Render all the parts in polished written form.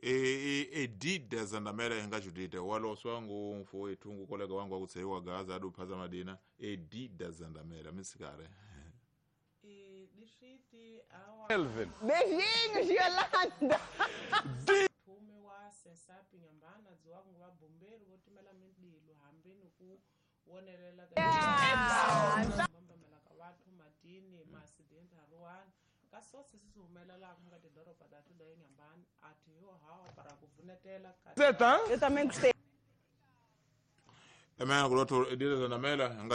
Edida Zandamela hinga Judite waloswa ngu mfowethu ngu kolega wangu akutseiwa Gaza aduphaza madina Edida Zandamela misikare. Elvin. Beijinhos, Yolanda. Thume wa Sensapi Nyambana dziwa ku va bomberu vo timela mindzilo hambi ni ku wonelela ka mbambamela ka vathu madini ma-accident haruwani ka sosi swi humelelaka nga tidoroba ta tuda eNyambani a thi yo hawa para ku vunetela ka Eu também gostei. Emena kulotho Edida Zandamela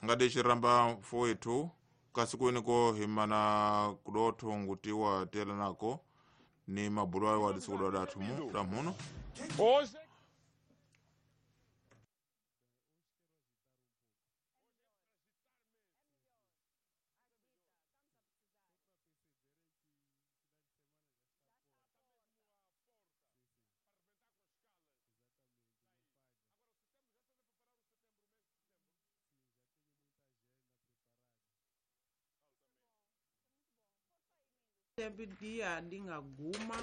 ngade xiramba mfowethu kasikwini ko himana kudotho ngutiwa tela nako ni mabulu ayo wadisukuda dathumu damhuno. Hoje dia dinga guma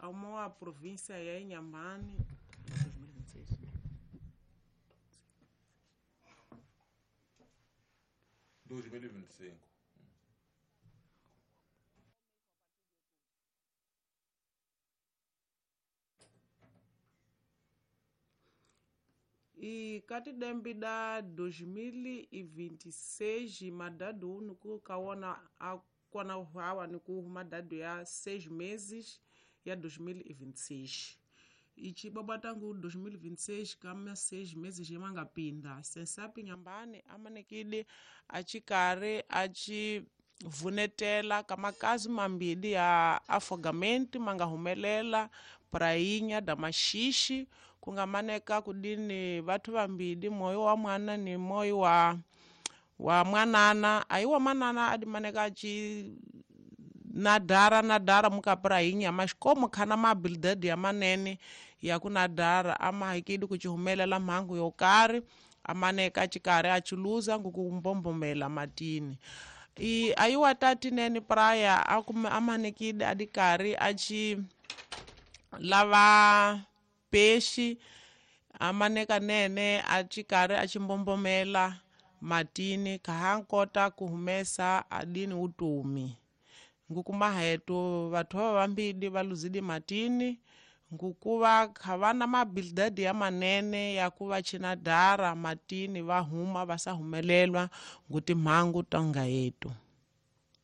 a província ya Inhambane 2026. 2025. E kati dembi da 2026 madadu unu ku kaona a kona hawa ni ku madadu ya 6 meses ya 2026. Ichi baba tangu 2026 kama 6 meses yemangapinda Sensapi Nyambani amanekide achikare achi vunetela kamakazi mambili ya afogamento mangahumelela prainha da maxixe kungamaneka kudini vathu vambili moyo wa mwana ni moyo wa mwanana ayiwa manana adimaneka achi nadara mukaprainha mas como khana maabilidade ya manene ya kunadara amahikidi kuchihumelela mhangu yo karhi amaneka achikari achiluza ngukumbombomela matini. I ayiwa tati nene praia amanekide adikari achi lava peixe amaneka nene achikari achimbombomela matini kahankota kuhumesa adini utumi ngukumahetu vathu va vambili va luzidi matini ngukuva khavana maabilidade ya manene ya ku va chinadara matini va huma va sa humelelwa ngutimhangu tonga yetu.